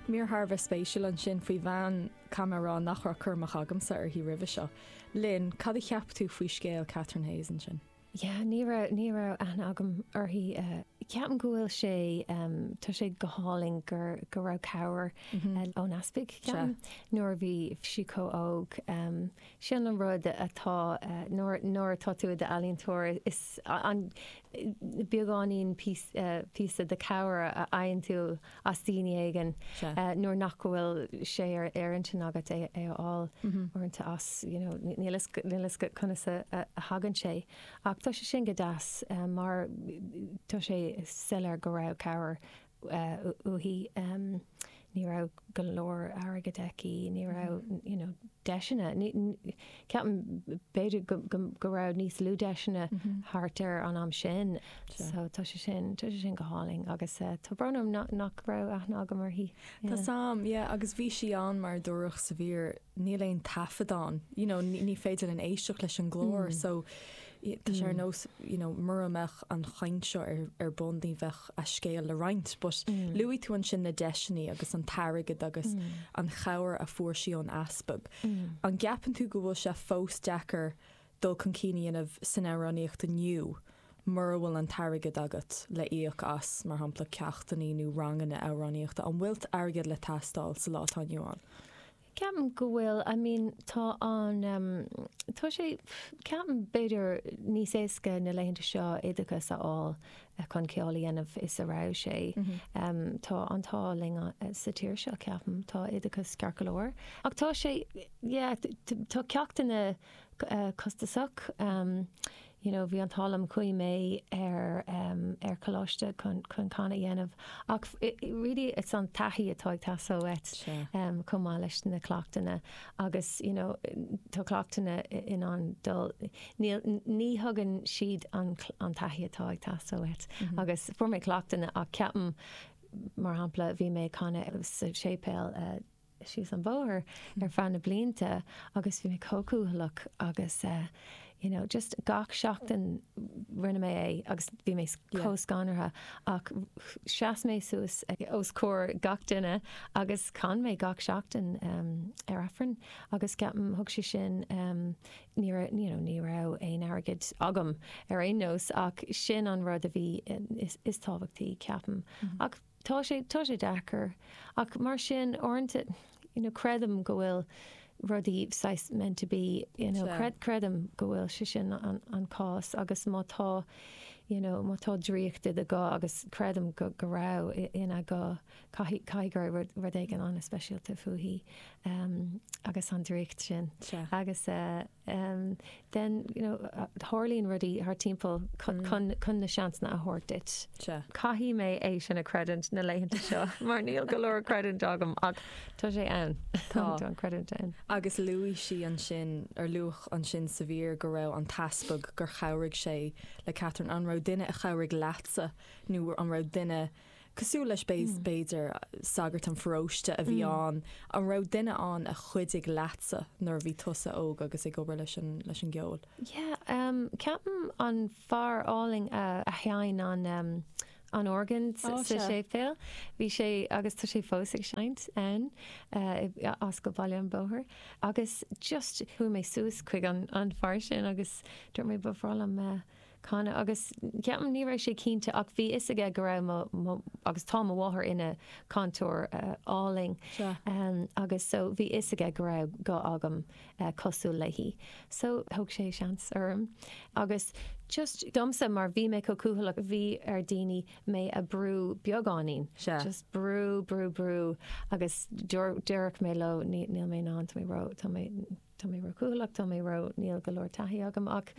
Mír thar a bheith spéisiúil ansin faoi bhean, caithfidh mé a rá, nach raibh cur amach agamsa uirthi roimhe seo. Lynn, cad a cheap tú faoi scéal Catherine Hayes ansin? Yeah, ní raibh, ní raibh aithne agam uirthi. Ceapaim go bhfuil sé, tá sé go hálainn gur, go raibh cabhair ón easpag, ceapaim, nuair a bhí sí chomh óg. Sin an rud atá, nuair, nuair atá tú i d'ealaíontóir, is an beagáinín píosa de cabhair a fhaigheann tú as daoine éigin nuair nach bhfuil sé ar ar intinn agat é a fháil uaireanta as, you know, níl fhios níl fhios agat conas a thagann sé. Ach tá sé sin go deas mar tá sé soiléir go raibh cabhair uaithi. Ní raibh go leor airgid aici, ní raibh, you know, deiseanna. Ceapaim b'fhéidir go go raibh níos lú deiseanna thart ar an am sin. So tá sé sin, tá sé sin go hálainn agus tá brón orm nach raibh aithne agam uirthi. Tá sam, yeah, agus bhí sí ann mar a dúradh sa mhír, níl aon taifead ann, you know, ní féidir linn éisteacht leis an nglór so tá sé ar nós, you know, mura mbeadh an chaint seo ar ar bun ní bheadh a scéal le roinnt. But luaigh tú ansin na deiseanna agus an t-airgead agus an chabhair a fuair sí ón easpag. An gceapann tú go bhfuil sé fós deacair dul chun cinn a dhéanamh san amhránaíocht inniu mura bhfuil an t-airgead agat le íoc as, mar shampla, ceachtanna nó ranganna amhránaíochta? An bhfuil airgead le teastáil sa lá atá inniu ann? Ceapaim go bhfuil, I mean tá an, tá sé, ceapaim b'fhéidir níos éasca na laethanta seo oideachas a fháil chun ceol a dhéanamh is a raibh sé. Tá an t-ádh linn sa tír seo ceapaim, tá oideachas ceart go leor. Ach tá sé, yeah, tá ceachtanna costasach. You know bhí an t-ádh liom chuaigh mé ar ar choláiste chun chun canadh a dhéanamh ach really it's an taithí atá ag teastáil uait chomh maith leis na cleachtanna agus you know tá cleachtanna in ann dul níl ní thugann siad an an taithí atá ag teastáil uait agus fuair mé cleachtanna ach ceapaim mar shampla bhí mé ag canadh sa séipéal síos an bóthar ar feadh na blianta agus bhí mé chomh cúthaileach agus you know just gach seachtain rinne mé é agus bhí mé chomh scanraithe ach sheas mé suas os comhair gach duine agus chan mé gach seachtain ar Aifreann agus ceapaim thug sé sin ní raibh you know ní raibh aon airgead agam ar aon nós ach sin an rud a bhí is is tábhachtaí ceapaim ach Tá sé, tá sé deacair. Ach mar sin, uaireanta, you know, creidim go bhfuil rudaí saghas meant to be, you know, creid, creidim go bhfuil sé sin an, an cás agus má tá, you know, má tá draíocht i do ghuth agus creidim go, go raibh ina guth, caithfidh, caithfidh go raibh rud, rud éigin an-speisialta fúithi, um, agus an draíocht sin. Agus, eh, then you know tarlaíonn rudaí thart timpeall chun chun na seansanna a thabhairt duit. Caithfidh mé é sin a chreidiúint na laethanta seo mar níl go leor creidiúint agam ach tá sé ann. Tá an creidiúint ann. Agus luaigh sí ansin, ar luadh ansin sa mhír go raibh an t-easpag, gur chabhraigh sé le Catherine. An raibh duine a chabhraigh leatsa nó an raibh duine Cosúil leis b'fhéidir, sagart an pharóiste a bhí ann, an raibh duine ann a chuidigh leatsa nuair a bhí tusa óg agus ag obair leis an leis an gceol? Yeah, ceapaim an fear álainn a sheinn an an organ sa séipéal, bhí sé agus tá sé fós ag seinnt ann as go Baile an Bhóthair agus just chuaigh mé suas chuig an an fear sin agus dúirt mé ba bhreá liom canadh agus ceapaim ní raibh sé cinnte ach bhí fhios aige go raibh mo, mo, agus tá mo mháthair ina cainteoir álainn agus so bhí fhios aige go raibh guth agam cosúil léi so thóg sé seans orm agus just domsa mar bhí mé chomh cúthaileach bhí ar daoine mé a brú beagáinín just brú brú brú agus déarfadh mé leo níl mé in ann tá mé ró tá mé Tá mé ró-chúthaileach, tá mé ró, níl go leor taithí agam ach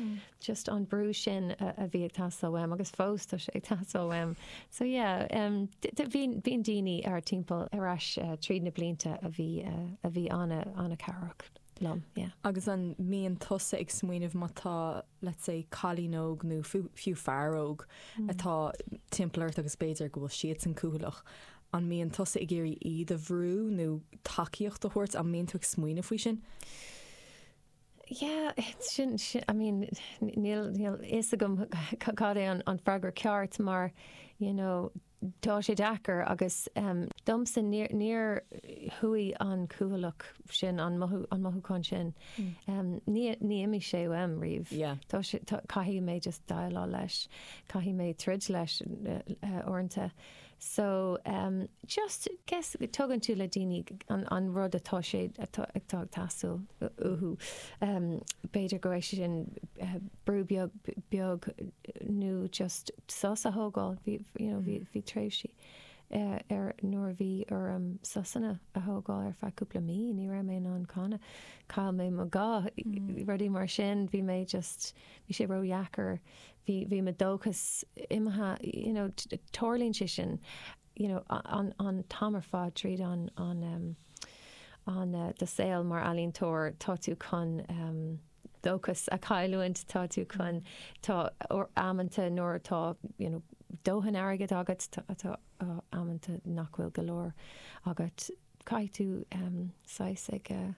just an brú sin a bhí ag teastáil uaim agus fós tá sé ag teastáil uaim. So yeah, bhí, bíonn daoine thar timpeall ar ais tríd na blianta a bhí, a bhí an-, an-chabhrach liom, yeah. Agus an mbíonn tusa ag smaoineamh má tá, let's say, cailín óg nó fiú fear óg atá timpeall ort agus b'fhéidir go bhfuil siadsan cúthaileach, An mbíonn tusa ag iarraidh iad a bhrú nó tacaíocht a thabhairt? An mbíonn tú ag smaoineamh faoi sin? Yeah, sin, sin, I mean, níl, níl fhios agam cad é an, an freagra ceart mar, you. You know, tá sé deacair agus domsa níor, níor chuaigh an cúthaileach sin, an mothú, an mothúchán sin, ní, ní imigh sé uaim riamh. Yeah. Tá sé, tá, caithfidh mé just déileáil leis, caithfidh mé troid leis uaireanta. So, just, guess, tugann tú le daoine an, an rud atá sé, atá, atá ag teastáil uathu. B'fhéidir go raibh sé sin brú beag, beag nó just sos a thógáil. Bhí, you know, bhí, bhí tréimhsí ar, nuair a bhí orm sosanna a thógáil ar feadh cúpla mí, ní raibh mé in ann canadh. Chaill mé mo ghuth, rudaí mar sin, bhí mé just, bhí sé ródheacair. Bhí, bhí mo dóchas imithe, you know, tarlaíonn sé sin, you know, an, an t-am ar fad tríd an, an, um, an, uh, do saol mar ealaíontóir, tá tú chun, um, dóchas a chailliúint, tá tú chun, tá amanta nuair atá, you know, dóthain airgid agat, tá, tá amanta nach bhfuil go leor agat, caithfidh tú, um, saghas ag, uh,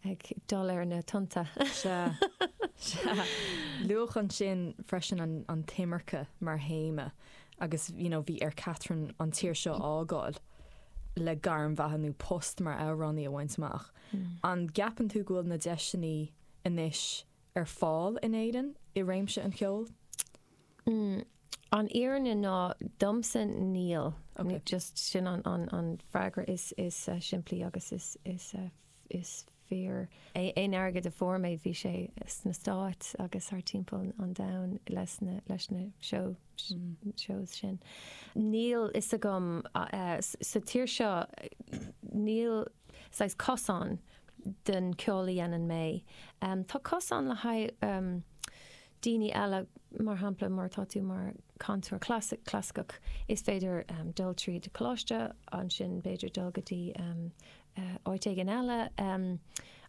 ag dul ar na tonnta. Sea, sea. Luadh ansin freisin an, an t-imirce mar théama agus, you know, bhí ar Catherine an tír seo a fhágáil le gairm bheatha nó post mar amhránaí a bhaint amach. An gceapann tú go bhfuil na deiseanna anois ar fáil in Éirinn i réimse an cheoil? An fhírinne ná, domsa, níl. Just sin an freagra is simplí agus is fíor. Aon airgead a fuair mé, bhí sé sna Stáit agus thar timpeall an domhain leis na shows sin. Níl fhios agam, sa tír seo, níl saghas cosán don ceol a dhéanann mé. Tá cosán le haghaidh daoine eile, mar shampla, mar tá tú mar chantóir clasaiceach, is féidir dul tríd coláiste, ansin b'fhéidir dul go dtí áit éigin eile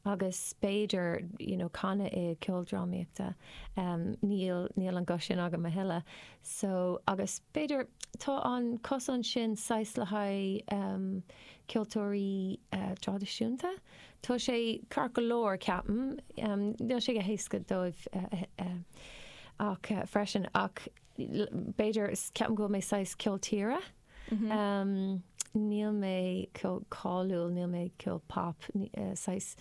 agus b'fhéidir you know canadh i ceoldrámaíochta. Níl, níl an guth sin agam a thuilleadh. So, agus b'fhéidir tá an cosán sin saghas le haghaidh ceoltóirí traidisiúnta. Tá sé ceart go leor, ceapaim. Níl sé go héasca dóibh ach freisin ach b'fhéidir, ceapaim go bhfuil mé saghas ceol tíre. Níl mé ceol cáiliúil, níl mé ceol pop, saghas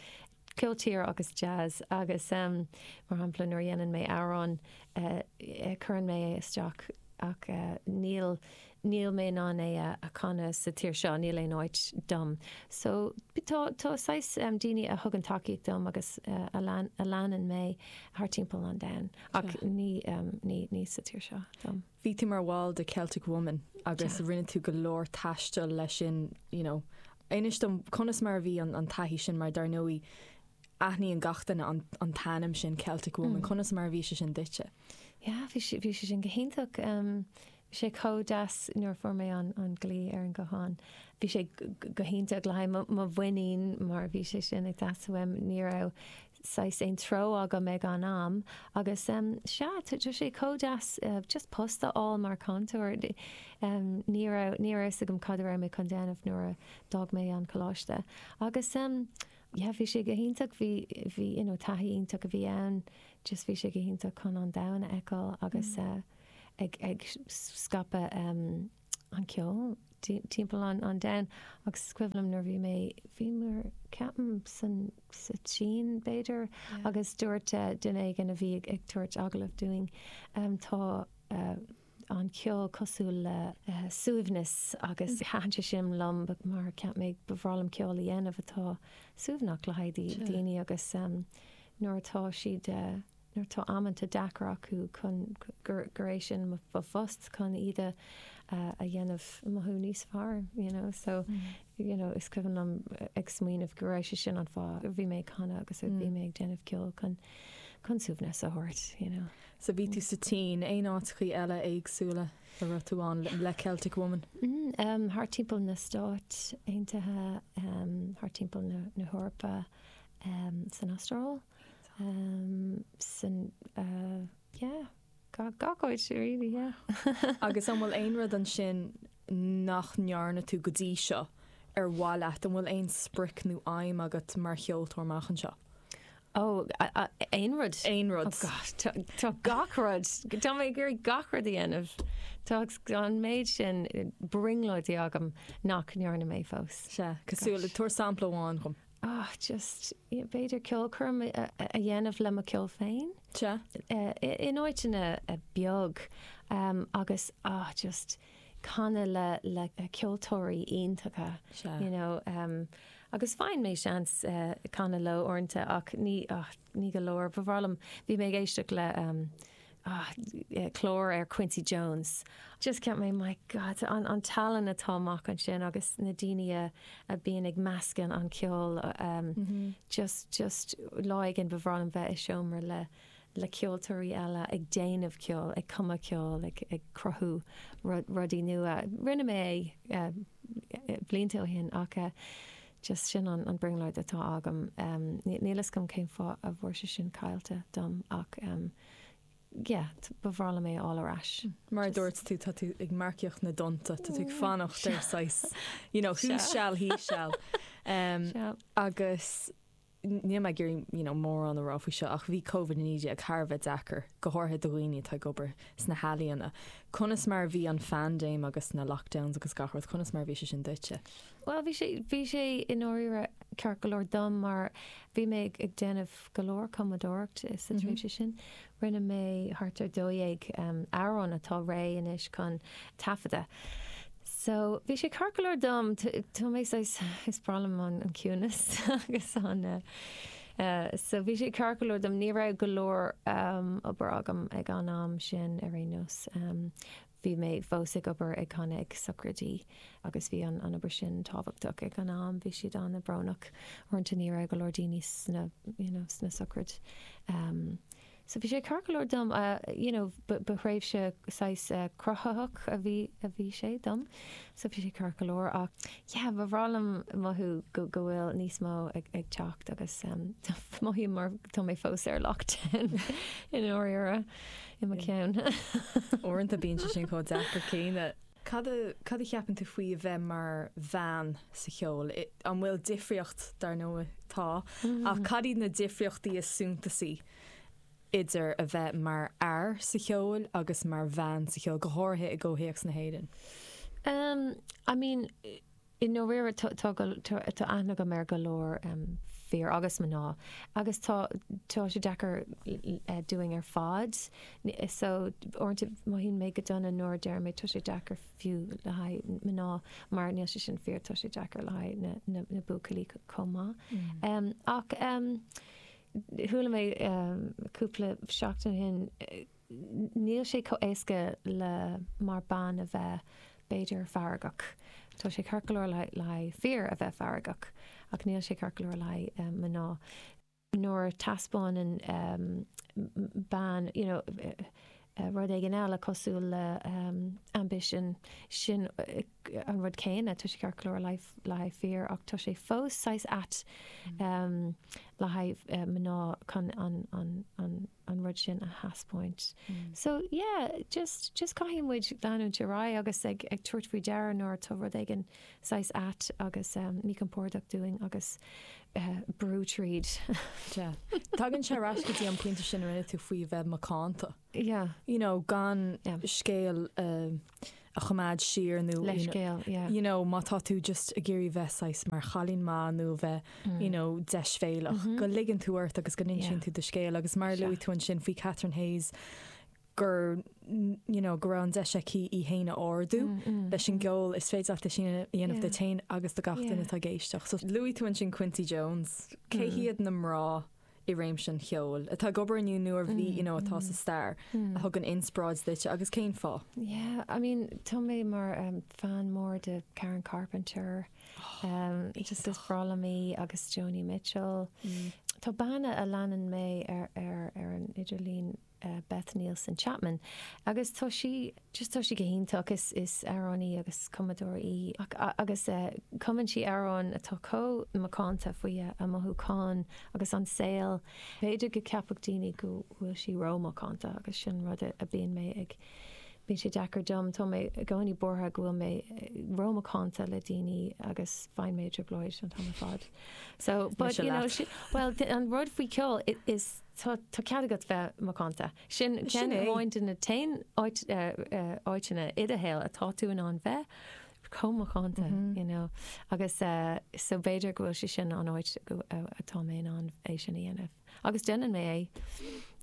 ceol tíre agus jazz agus mar shampla nuair a dhéanann mé amhrán cuireann mé é isteach ach níl níl mé in ann é a chanadh sa tír seo, níl aon áit dom. So tá tá saghas daoine a thugann tacaíocht dom agus a lean a leanann mé thar timpeall an domhain ach ní ní ní sa tír seo dom. Bhí tú mar bhall de Celtic Woman agus rinne tú go leor taistil leis sin, you know. Inis dom conas mar a bhí an an taithí sin mar dar ndóigh aithníonn gach duine an an t-ainm sin Celtic Woman, conas mar a bhí sé sin duitse? Yeah, bhí sé bhí sé sin go hiontach. Bhí sé chomh deas nuair a fuair mé an an glao ar an guthán. Bhí sé go hiontach le haghaidh mo mhuinín mar bhí sé sin ag teastáil uaim. Ní raibh saghas aon treo agam ag an am agus sea, tá sé chomh deas just post a fháil mar chainteoir. Ní raibh ní raibh fhios agam cad a raibh mé chun déanamh nuair a d'fhág mé an coláiste agus yeah bhí sé go hiontach, bhí bhí you know taithí iontach a bhí ann, just bhí sé go hiontach chun an domhan a fheiceáil agus ag ag scaipeadh an ceol timpeall an an domhain agus is cuimhin liom nuair bhí mé bhí mé ceapaim san sa tSín b'fhéidir agus dúirt duine éigin a bhí ag ag tabhairt agallamh dúinn tá an ceol cosúil le suaimhneas agus thaitin sé sin liom mar cheap mé ba bhreá liom ceol a dhéanamh atá suaimhneach le haghaidh daoine agus nuair atá siad nuair atá amanta deacair acu chun gur é sin mo phost chun iad a a dhéanamh mothú níos fearr you know so you know is cuimhin liom ag smaoineamh go raibh sé sin an fáth a bhí mé ag canadh agus a bhí mé ag déanamh ceoil chun chun suaimhneas a thabhairt you know. So bhí tú sa tSín, aon áiteachaí eile éagsúla a raibh tú ann le Celtic Woman? Mm thart timpeall na Stáit Aontaithe, thart timpeall na na hEorpa, san Astráil. San, yeah, gach áit really, yeah. Agus an bhfuil aon rud ansin nach ndearna tú go dtí seo ar mhaith leat? An bhfuil aon sprioc nó aidhm agat mar cheoltóir amach anseo? Ó, aon rud. Aon rud. Oh God, tá gach rud, tá mé ag iarraidh gach rud a dhéanamh. Tá an méid sin brionglóidí agam nach ndearna mé fós. Sea, cosúil le, tabhair sampla amháin dhom. Ah, just, b'fhéidir ceolchoirm a dhéanamh le mo cheol féin. Sea. In áiteanna beag agus, ah, just canadh le le ceoltóirí iontacha. Sea. You know, agus faigheann mé seans canadh leo uaireanta ach ní, ah, ní go leor. Ba bhreá liom, bhí mé ag éisteacht le, ah, clár ar Quincy Jones. Just cheap mé, my God, an, an tallann atá amach ansin agus na daoine a, a bíonn ag meascadh an ceol, just, just lá éigin ba bhreá liom bheith i seomra le, le ceoltóirí eile ag déanamh ceoil, ag cumadh ceoil, ag, ag cruthú rudaí nua. Rinne mé é blianta ó shin ach just sin an, an brionglóid atá agam. Níl fhios agam cén fáth a bhfuair sé sin caillte dom ach yeah, ba bhreá liom é a fháil ar ais. Mar a dúirt tú, tá tú ag marcaíocht na dtonnta, tá tú ag fanacht ar saghas, you know, who shall, he shall. Agus níl mé ag iarraidh you know mórán a rá faoi seo ach bhí Covid-19 thar a bheith deacair, go háirithe do dhaoine atá ag obair sna healaíona. Conas mar a bhí an phaindéim agus na lockdowns agus gach rud, conas mar a bhí sé sin duitse? Bhuel, bhí sé, bhí sé i ndáiríre ceart go leor dom mar bhí mé ag, ag déanamh go leor cumadóireacht sa tréimhse sin. Rinne mé thart ar 12 amhrán atá réidh anois chun taifeadadh. So, bhí sé ceart go leor dom. Tá mé saghas, is breá liom an ciúnas agus an, so bhí sé ceart go leor dom. Ní raibh go leor obair agam ag an am sin ar aon nós. Bhí mé fós ag obair ag canadh ag socraidí agus bhí an obair sin tábhachtach ag an am. Bhí siad an-bhrónach. Uaireanta ní raibh go leor daoine sna, you know, sna sochraid. So bhí sé ceart go leor dom, you know, ba thréimhse saghas cruthaitheach a bhí, a bhí sé dom. So bhí sé ceart go leor ach yeah, ba bhreá liom mothú go, go bhfuil níos mó ag, ag teacht agus mothaím mar tá mé fós ar lockdown i ndáiríre. I mo cheann. Uaireanta bíonn sé sin chomh deacair céanna. Cad a, cad a cheapann tú faoi a bheith mar bhean sa cheol? An bhfuil difríocht, dar ndóigh tá, ach cad iad na difríochtaí is suntasaí idir a bheith mar fhear sa cheol agus mar bhean sa cheol, go háirithe i gcomhthéacs na hÉireann? I mean, I ndáiríre tá tá aithne agam ar go leor fir agus mná agus tá tá sé deacair dúinn ar fad. So uaireanta mothaíonn mé go dona nuair a deirim tá sé deacair fiú le haghaidh mná mar níl sé sin fíor, tá sé deacair le haghaidh na na na buachaillí chomh maith. Ach chuala mé cúpla seachtain ó shin Níl sé chomh éasca le mar bean a bheith, b'fhéidir, feargach. Tá sé ceart go leor le haghaidh fir a bheith feargach, ach níl sé ceart go leor le haghaidh mná. Nuair a taispeánann bean, you know, rud éigin eile cosúil le ambition, sin an rud céanna, tá sé ceart go leor le haghaidh fir ach tá sé fós saghas ait le haghaidh mná chun an, an, an rud sin a thaispeáint. So yeah, just, just caithfidh muid leanúint ar aghaidh agus ag, ag tabhairt faoi deara nuair atá rud éigin saghas ait agus míchompordach dúinn agus brú tríd. Yeah. Tagann sé ar ais go dtí an pointe sin a rinne tú faoi bheith macánta. Yeah. You know, gan yeah. scéal uh, a choimeád siar nó Leithscéal, yeah. you know, má tá tú just ag iarraidh bheith saghas mar chailín maith nó bheith you know, deisbhéalach, go ligeann tú ort agus go n-insíonn tú do scéal agus mar a luaigh tú ansin faoi Catherine Hayes gur you know, go raibh an deis aici í féin a ardú leis an gceol, is féidir leat é sin a dhéanamh duit féin agus do gach duine atá ag éisteacht. So luaigh tú ansin Quincy Jones, cé hiad na mná i réimse an cheoil, atá ag obair inniu nó a bhí, you know, atá sa stair, a thugann inspioráid duit agus cén fáth? Yeah, I mean, tá mé mar fan mór de Karen Carpenter, just is breá liom í agus Joni Mitchell. Tá bean a leanann mé ar ar ar an idirlíon Beth Nielsen Chapman agus tá sí, just tá sí go hiontach, is is amhránaí agus cumadóir í ach agus cumann sí amhráin atá chomh macánta faoi a mothúcháin agus an saol. B'fhéidir go gceapfadh daoine go bhfuil sí ró-mhacánta agus sin rud a bíonn mé ag. Bíonn sé deacair dom, tá mé i gcónaí buartha go bhfuil mé rómhacánta le daoine agus faigheann mé i dtrioblóid an t-am ar fad. So, but you know, well, an rud faoi ceol is tá tá cead agat bheith macánta. Sin ceann amháin de na t-aon áiteanna i do shaol atá tú in ann bheith chomh macánta, you know. Agus so b'fhéidir go bhfuil sé sin an áit atá mé in ann é sin a dhéanamh. Agus déanann mé é.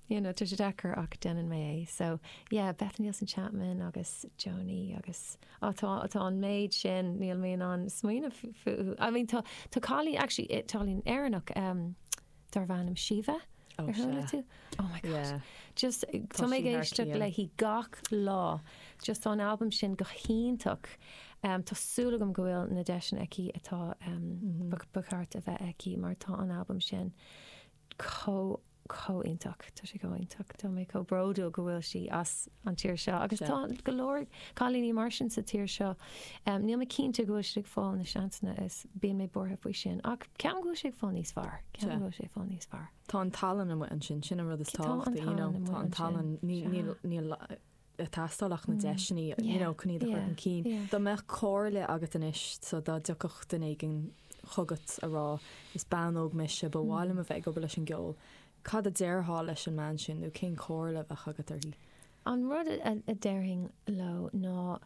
You know, tá sé deacair ach déanann mé é. So, yeah, Beth Nielsen Chapman agus Joni agus, oh, tá, tá an méid sin, níl mé in ann smaoineamh fúthu. I mean, tá, tá cailín, actually, cailín Éireannach, um, darb ainm Síomha. Oh, Ar chuala sea. tú? Oh my God. Yeah. Just, Tá tá mé sí ag thar éisteacht cionn. léi gach lá. Just tá an albam sin go hiontach. Um, tá súil agam go bhfuil na deiseanna aici atá um, ba, ba cheart a bheith aici mar tá an albam sin chomh chomh iontach. Tá sé chomh iontach. Tá mé chomh bródúil go bhfuil sí as an tír seo agus Sea. tá go leor cailíní mar sin sa tír seo. Um, níl mé cinnte go bhfuil siad ag fáil na seansanna is bíonn mé buartha faoi sin ach ceapaim go bhfuil sé ag fáil níos fearr. Ceapaim Sea. go bhfuil sé ag fáil níos fearr. Tá an tallann amuigh ansin, sin an rud is Tá an tábhachtaí, you know, tallann tá amuigh an ansin. tallann, ní, Sea. níl, níl ag teastáil ach na deiseanna, you Yeah, know, chun iad a chur yeah, chun cinn. yeah. Dá mbeadh comhairle agat anois, so dá dtiocfadh duine éigin chugat a rá, is bean óg mise, ba mhaith liom a bheith ag obair leis an gceol, cad a déarfá leis an mbean sin nó cén chomhairle a bheadh agat uirthi? An rud a déarfainn leo ná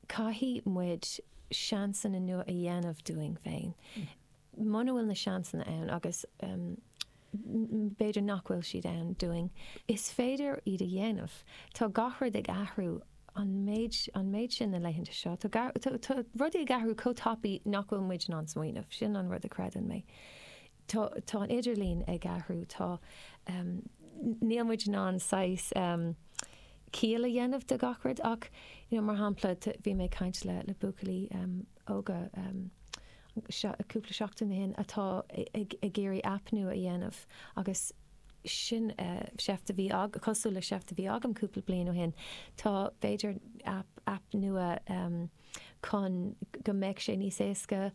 caithfidh muid seansanna nua a dhéanamh dúinn féin. Muna bhfuil na seansanna ann, agus b'fhéidir nach bhfuil siad ann dúinn, is féidir iad a dhéanamh. Tá gach rud ag athrú an méid, an méid sin na laethanta seo. Tá, tá rudaí ag athrú chomh tapaidh nach bhfuil muid in ann smaoineamh. Sin an rud a chreideann mé. Tá, tá an idirlíon ag athrú, tá, níl muid in ann saghas ciall a dhéanamh de gach rud ach, you know, mar shampla, bhí mé ag caint le, le buachaillí óga cúpla seachtain ó shin atá ag iarraidh aip nua a dhéanamh agus sin seift a bhí cosúil le seift a bhí agam cúpla bliain ó shin. Tá b'fhéidir aip, aip nua chun go mbeadh sé níos éasca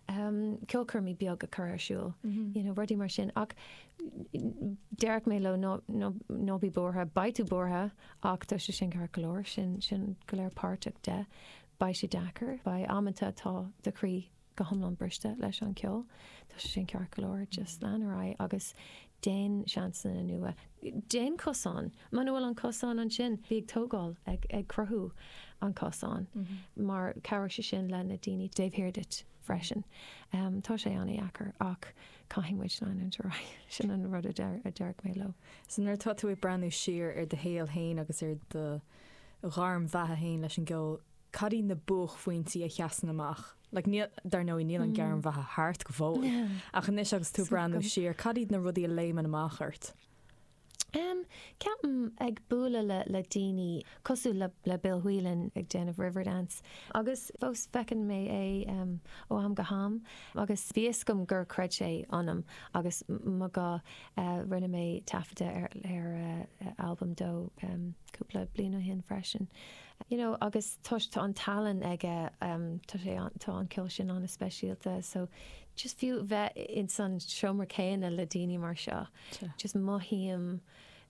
ceolchoirmí beag a chur ar siúl, you know, rudaí mar sin. Ach déarfadh mé leo ná, ná, ná bí buartha, beidh tú buartha ach tá sé sin ceart go leor, sin, sin go léir páirteach de. Beidh sé deacair. Beidh amanta atá do chroí go hiomlán briste leis an ceol. Tá sé sin ceart go leor. Just lean ar aghaidh agus déan seansanna nua. Déan cosán. Muna bhfuil an cosán ansin, bí ag tógáil, ag ag cruthú an cosán mar cabhróidh sé sin le na daoine taobh thiar duit freisin. Tá sé an-dheacair ach caithfidh muid leanúint ar aghaidh. Sin an rud a deir a déarfadh mé leo. So nuair atá tú ag breathnú siar ar do shaol féin agus ar do ghairm bheatha féin leis an gceol, cad iad na buaicphointí a sheasann amach? Like, níl, dar ndóigh, níl an ghairm bheatha thart go fóill, ach anois agus tú ag breathnú siar, cad iad na rudaí a léimeann amach ort? Em, ceapaim ag bualadh le, le daoine cosúil le, le Bill Whelan ag déanamh Riverdance agus fós feiceann mé é, em, ó am go ham agus bhí fhios agam gur chreid sé ionam agus mo ghuth, eh, rinne mé taifeadadh ar, ar, eh, albam dó, em, cúpla bliain ó shin freisin. You know, agus tá, tá an tallann aige, em, tá sé an, tá an ceol sin an-speisialta so just fiú bheith ins an seomra céanna le daoine mar seo, just mothaím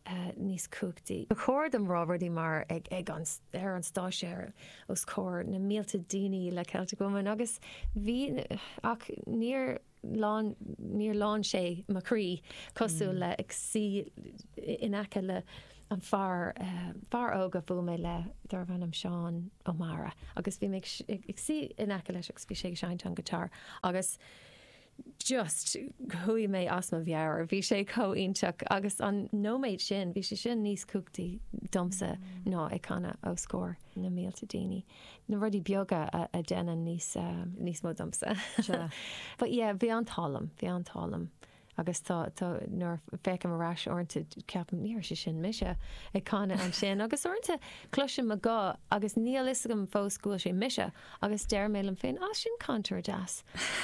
eh, níos cumhachtaí. Ba chóir dom rá rudaí mar ag, ag an, ar an stáitse ar, os comhair na mílte daoine le Celtic Woman agus bhí, ach níor, lán, níor lán sé mo chroí cosúil le ag suí in aice le an fear, fear óg a bhuail mé le darbh ainm Seán Ó Meára agus bhí mé ag suí in aice leis agus bhí sé ag seinnt an guitar agus just chuaigh mé as mo mheabhair, bhí sé chomh iontach agus an nóiméad sin, bhí sé sin níos cumhachtaí domsa ná ag canadh os comhair na mílte daoine. na rudaí beaga a dhéanann níos níos mó domsa. Sea. But yeah, bhí an t-ádh liom, bhí an t-ádh liom. Agus tá, tá, nuair a féachaim ar ais uaireanta ceapaim, ní raibh sé sin mise ag canadh ansin. Agus uaireanta cloisim mo ghuth agus níl fhios agam fós go bhfuil sé mise agus deir mé liom féin, ah, sin cainteoir deas.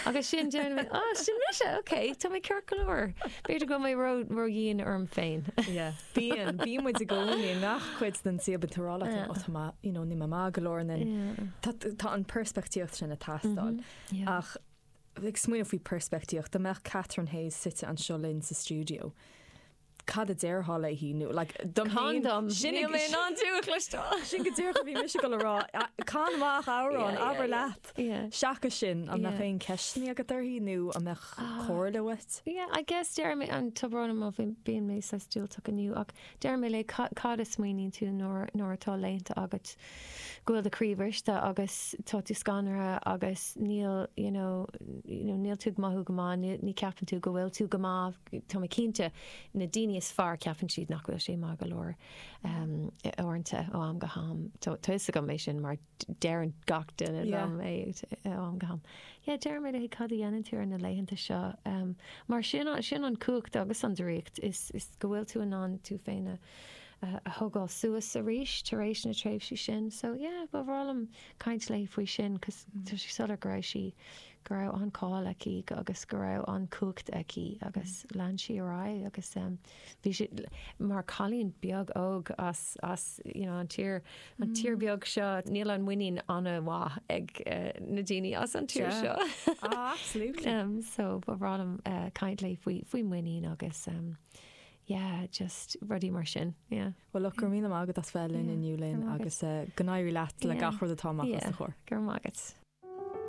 Agus sin deir mé, ah, sin mise, ok, tá mé ceart go leor. B'fhéidir go bhfuil mé ró, ródhian orm féin. Yeah. Bíonn, bíonn muid i gcónaí i ngach cuid den saol, bíonn tú ag rá leat féin, oh tá mé, you know, níl mé maith go leor, and then tá, tá an peirspictíocht sin ag teastáil. Ach ag smaoineamh faoi peirspictíocht, dá mbeadh Catherine Hayes suite anseo linn sa stiúideo, Cad a déarfá léi nó like dom féin? Can dom. Sin Níl mé in ann tú a chloisteáil. Sin go díreach a bhí mise ag dul a rá. Can amach amhrán, abair leat. Seachas sin, an mbeadh aon ceisteanna agat uirthi nó an mbeadh comhairle uait? Yeah, I guess deir mé, an tá brón orm má bíonn mé saghas diúltach inniu ach deir mé léi cad a smaoiníonn tú nuair nuair atá laethanta agat go bhfuil do chroí bhriste agus tá tú scanraithe agus níl you know you know níl tú ag mothú go maith, ní ní ceapann tú go bhfuil tú go maith, tá mé cinnte na daoine is fearr ceapann siad nach bhfuil sé maith go leor uaireanta ó am go ham. Tá tá fhios agam é sin mar deireann gach duine liom é ó am go ham. Yeah deir mé léi cad a dhéanann tú ar na laethanta seo mar sin sin an cumhacht agus an draíocht is is go bhfuil tú in ann tú féin a a thógáil suas arís tar éis na tréimhsí sin. So yeah, ba bhreá liom caint léi faoi sin cos tá sé soiléir go raibh sí, go raibh an-cháil aici agus go raibh an-chumhacht aici agus lean sí ar aghaidh agus bhí sí mar cailín beag óg as, as you know an tír, an tír beag seo, níl an muinín an-mhaith ag na daoine as an tír seo. Ah, absolutely. So ba bhreá liom caint léi faoi, faoi muinín agus yeah, just rudaí mar sin, yeah. Bhuel, look, go raibh míle maith agat as bheith linn inniu, Lynn, agus go n-éirí leat le gach rud atá amach os do chomhair. Go raibh maith agat.